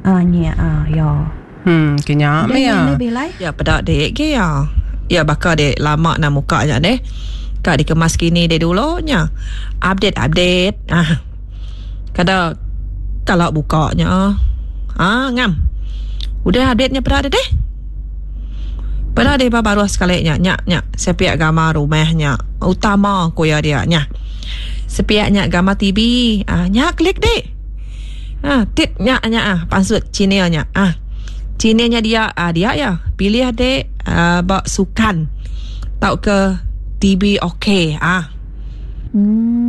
Ah nya ah ya. Hmm kenya meh iya. Ya peda dik ge iya. Ya baka dik lama nah muka nya deh. Ka dikemas kini dik dulu nya. Update update ah. Kada kala buka nya ah ngam. Udah update nya peda deh deh. Peda deh ba baruh sekali nya nya nya sepiak gambar rumah nya utama ku iya dia nya. Sepiak nya gambar TV ah nya klik dik. Ha tit nya nya ah pansut channel nya ah. Channel nya dia ah dia iya pilih dik ah ba sukan tauka TV ok ah.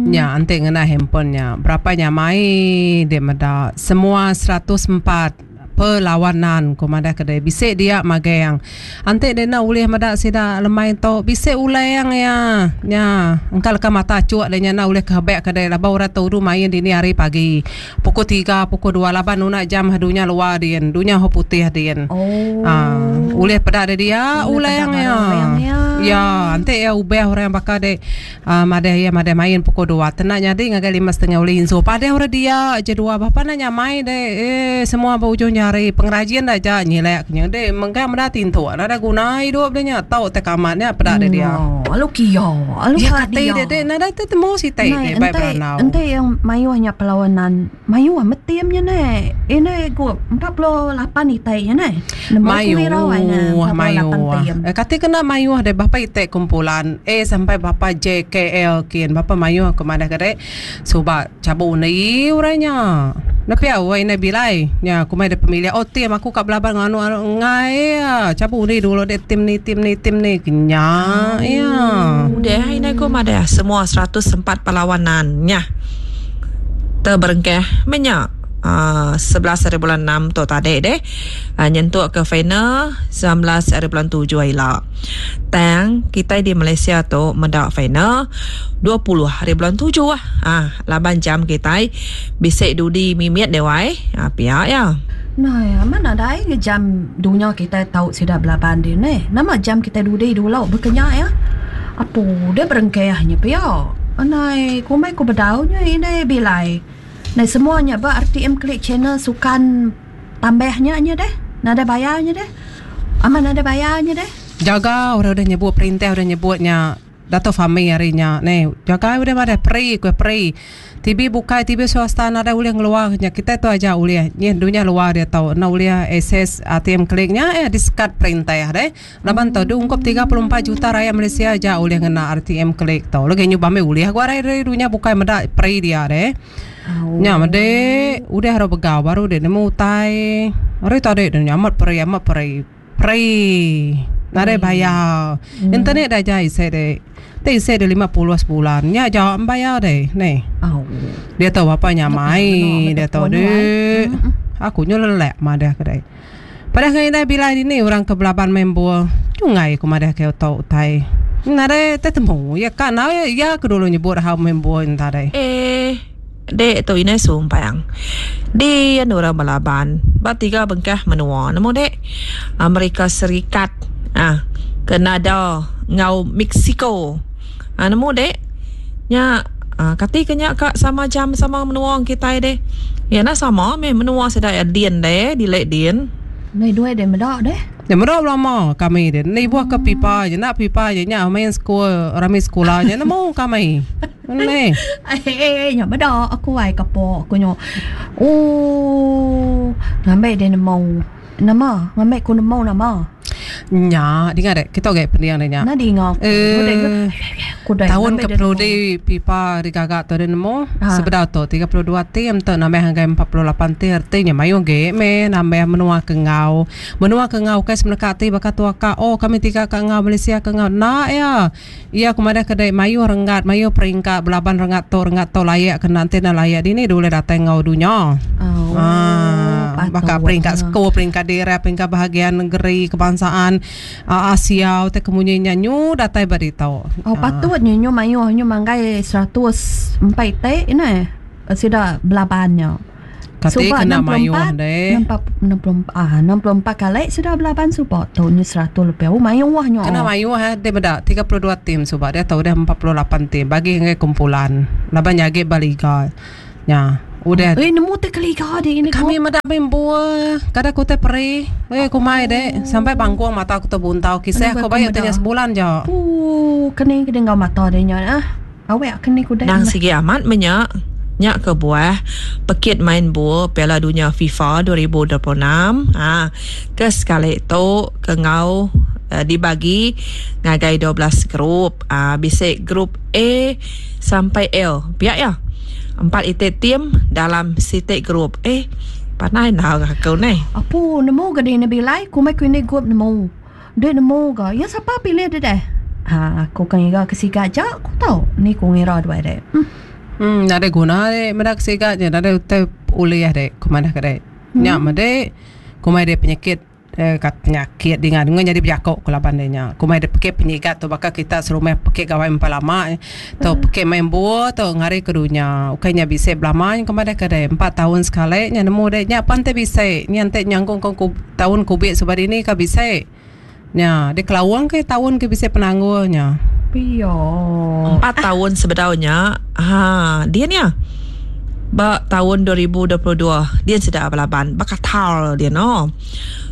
Nya enti ngena handphone nya berapa nyamai dek meda semua 104 perlawanan ku madah ke deh bisi dia magang. Enti deh enda ulih meda sida lemai tu bisi ulang iya nya engka leka mata achuk deh nya enda ulih ke hebek ke deh laban orang tu udu main dini hari pagi pukul tiga pukul dua laban nuna jam dunya luar din dunya ho putih din. Aaa ulih peda deh dia ulang iya. Ya enti iya ubah orang baka deh Aaa madah iya madah main pukul dua tena nyadi ngagai lima setengah ulih insu padeh orang dia je dua bapa enda nyamai deh eeh semua ba ujung jari pengerajin da aja nyilek nya deh mengkang meda tintuk nadai guna idup deh nya tau tai kamat nya peda deh dia. Alu kia alu ka dia. Kati deh nadai te temu siti deh bai berandau. Enti yang mayuh nya perlawanan Mayuh amat tim nya neh. Indai ku 48 itai nya neh. Nemu ku irau ai neh 48 mayuh. tim. Eh, kati kena mayuh deh bapa iti kumpulan A sampai bapa J K L kin bapa mayuh aku madah ke dek suba chabu undi orang nya. Enda pia wai indai bilai nya aku mai deh pemilih oh tim aku ka belaban enggau anu anu enggai iya chabu undi dulu dek tim ni tim ni tim ni nya iya. Udah indai ku madah semua 104 perlawanan nya. Teberengkah meh nya uhh 11 hari bulan enam tu tadi deh uhh nyentuk ke final 19 hari bulan tujuh ila. Tang kitai di Malaysia tu meda final 20 hari bulan tujuh uhh laban jam kitai bisi dudi mimit deh wai uhh pia iya. Nai amat nadai nge jam dunya kitai tau sida belaban din neh. Nama jam kitai dudi dulu baka nya iya. Apu deh berengkah nya pia. Anai kumbai ku bedau nya indai bilai. Nai semua nya ba RTM Click channel sukan tambah nya nya deh. Nadai bayar nya deh. Amat nadai bayar nya deh. Jaga orang udah nyebut perintah udah nyebut nya Dato Fahmi hari nya neh jaga udah madah peri ku peri TV bukai TV swasta nadai ulih ngeluar nya kitai tu aja ulih nyih dunya luar diatu enda ulih access RTM Click nya eh disekat perintah deh. Laban tu diungkup 34 juta rayat Malaysia aja ulih ngena RTM Click tu. Lagi nyuba meh ulih ku ari ari dunya bukai meda peri dia deh. Nya mede udah ro begau baru dek nemu utai. Ari tadi deh amat peri amat peri. Peri nadai bayar. Internet dah aja isi dek. Ti isi dek 50 sebulan. Nya aja bayar deh neh. Diatu bapa nyamai diatu deh. Aku nyu lelak madah ke deh. Padah ngan indai bilai dini orang ke belaban main bol. Nyungai ku madah ke utok utai. Nadai tetemu iya ka enggau iya ke dulu nyebut hal main bol nya tadi. Eh dek tu indai sumpang. Din orang belaban ba tiga bengkah menua nemu dek. Amerika Serikat ah Kanada enggau Mexico. Ah nemu dek. Nya ah kati ke nya ka sama jam sama menua kitai deh. Iya enda sama meh menua sida iya din deh dile din. Meh duai deh meda deh. Nya meda belama kami deh. Enda ibuh ke pipa je enda pipa je nya main sekul rami sekula nya nemu kami. Neh. Eh nya meda aku ai kapo aku nyu. Ooh ngambi deh nemu. Nama? Ngambi ku nemu nama? Nya, dinga dek. Kita agi pending dek nya. Enda dinga ku. Eh. Ku dek. Taun ke penudi pipa digaga tu dek nemu. Sebedau tu 32 tim tu nambah ngagai 48 tim reti nya mayuh agi meh nambah menua ke enggau. Menua ke enggau ukai semeneka ati baka tua ka oh kami tiga ka enggau Malaysia ke enggau. Enda iya. Iya ku madah ke dek mayuh renggat mayuh peringkat belaban renggat tu renggat tu layak ke enda enti enda layak dini dulih datai enggau dunya. Oh, Baka peringkat sekul, peringkat daerah, peringkat bahagian negeri, kebangsaan, Asia utai ke munyi nya nyu datai ba ditu. Oh patut nyu nyu mayuh nyu manggai 104 iti neh sida belaban nya. Kati Suba kena mayuh 64 deh. 64 ah 64 kali sida belaban suba tu nyu 100 lebih. Oh mayuh nyu. Kena mayuh eh deh meda 32 tim suba diatu udah 48 tim bagi ngagai kumpulan laban nya agi ba liga nya. Udah. Eh nemu te keliga di ini Kami meda bembu kada ku te peri. Eh kumai dek sampai bangkung mata ku tebuntau kisah ku bayu tanya sebulan ja. Ooh keni ke enggau mata dia nya ah. Awek keni ku dek. Nang sigi amat menya nya kebuah pekit main bul Piala Dunya FIFA 2026 ha ke sekali tu ke enggau dibagi ngagai 12 grup. Ha bisi grup A sampai L pia iya. Empat iti tim dalam siti grup. Eh pandai enda aku neh. Apu nemu ga dini bilai kumbai ku ini gup nemu. Dek nemu ga iya sapa pilih deh deh. Ha aku ka ngiga ke siga aja ku tau ni ku ngira duai deh. Uhh. Nadai guna dek meda ke siga nya nadai utai ulih dek ku madah ke dek. Nya meh dek kumbai dek penyakit. Ka penyakit dinga dinga nyadi bejako ku laban deh nya. Ku meh deh pekit penyigat tu baka kita serumah pekit gawai empai lama tu pekit main buo tu ngari ke dunya. Ukai nya bisi belama nya ku madah ke deh empat taun sekali nya nemu deh nya pan ti bisi nya enti nyangkung ke taun kubik suba dini ka bisi. Nya dikelaung ke taun ke bisi penanggul nya. Pia. Empat taun sebedau nya ha din iya ba taun 2022 din sida belaban ba Qatar din oh.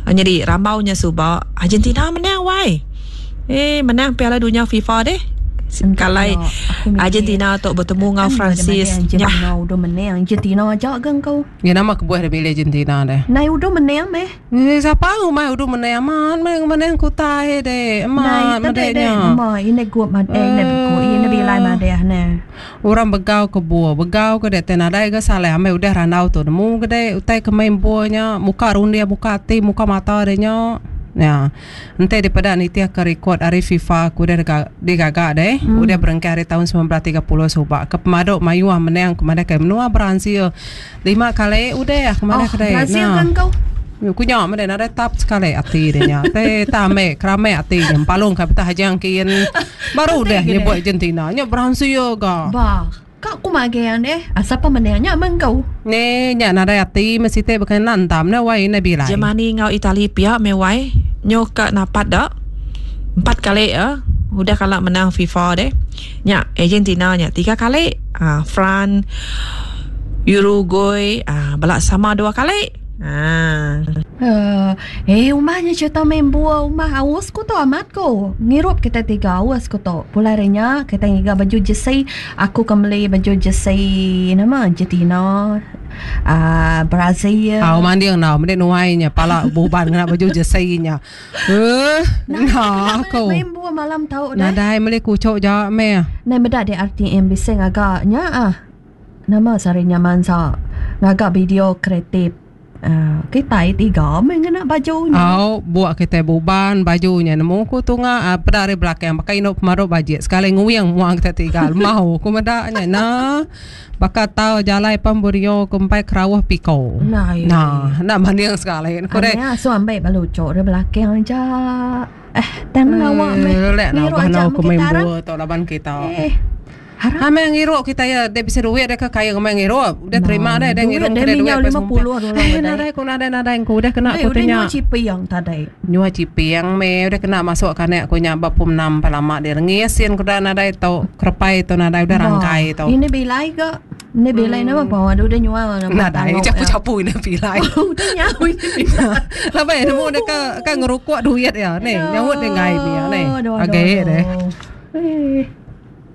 Nyadi rambau nya suba Argentina menang wai. Eh menang Piala Dunya FIFA deh. Kalai Argentina tu betemu enggau Francis. Argentina udah menang Argentina aja ga engkau. Ngi nama kebuah deh milih Argentina deh. Nai udah menang meh. Ngi sapa ngumbai udah menang amat meh menang kutai deh. Amat meh deh nya. Nama ine gup madeh ine begu ine bilai madeh ne. Orang begau ke buah begau ke deh tai nadai ga salah amai udah randau tu nemu ke deh utai ke main buah nya muka runding muka ati muka mata deh nya. Nya enti dipeda nitih ke rekod ari FIFA ke udah digaga deh udah berengkah ari taun 1930 suba ke pemadu mayuh menang ke madah ke menua Brazil lima kali udah ke madah Oh, ke deh. Brazil ke engkau? Ku nya meh nadai tap sekali ati deh nya. Te tame kerame ati nya empalung ka betah ajang kin. Baru deh nyebut Argentina nya Brazil ga. Ba, ka ku magang deh. Asal pa menang nya meh engkau. Ne nya nadai ati meh siti baka enda entam ne wai enda bilai. Germany enggau Itali pia meh wai. Nyu ka napat da. Empat kali eh udah kala menang FIFA deh. Nya Argentina nya tiga kali. Aa France, Uruguay aa bala sama dua kali. Haa. Eh umah nya cerita main buah umah aus ku tu amat ku. Ngirup kita tiga aus ku tu. Pulai ari nya kita ngiga baju jersey aku ke meli baju jersey nama Argentina aaa Brazil. Au manding enggau mende nuai nya pala buban ngena baju jersey nya. Eh nah aku. Main buah malam tau deh. Nadai meli kuchok ja meh. Nai meda di RTM bisi ngaga nya ah. Nama sehari nya mansa ngaga video kreatif uhh kitai tiga meh ngena baju nya. Au buk kitai buban baju nya nemu ku tunga peda ari belakang baka indu pemaru bajik sekali nguing mua kitai tiga lemau ku meda nya nah baka tau jalai pan Borneo ku empai kerauh piko. Nah enda manding sekali ku deh. Anang asuh ambi bala uchu ari belakang aja eh tang ngawa meh ngiru aja meh kita arang. Laban kita. Eh. Ha meh ngirup kita iya dek bisi duit dek ke kaya ngemai ngirup. Udah terima deh dek ngirup kedai duit pas ngumpul. Eh nadai ku nadai nadai ku udah kena ku ti nya. Nyua ciping tadi. Nyua ciping meh udah kena masuk kanek ku nya ba pum enam empai lama deh rengis sin ku dah nadai tu kerepai tu nadai udah rangkai tu. Ini bilai ga. Ini bilai nama pa udah nyua nama. Nadai capu-capu ini bilai. Udah nyau ini bilai. Laban nemu dek ke ke ngerukuk duit iya neh nyaut deh enggai mih neh. Agi deh. Eh.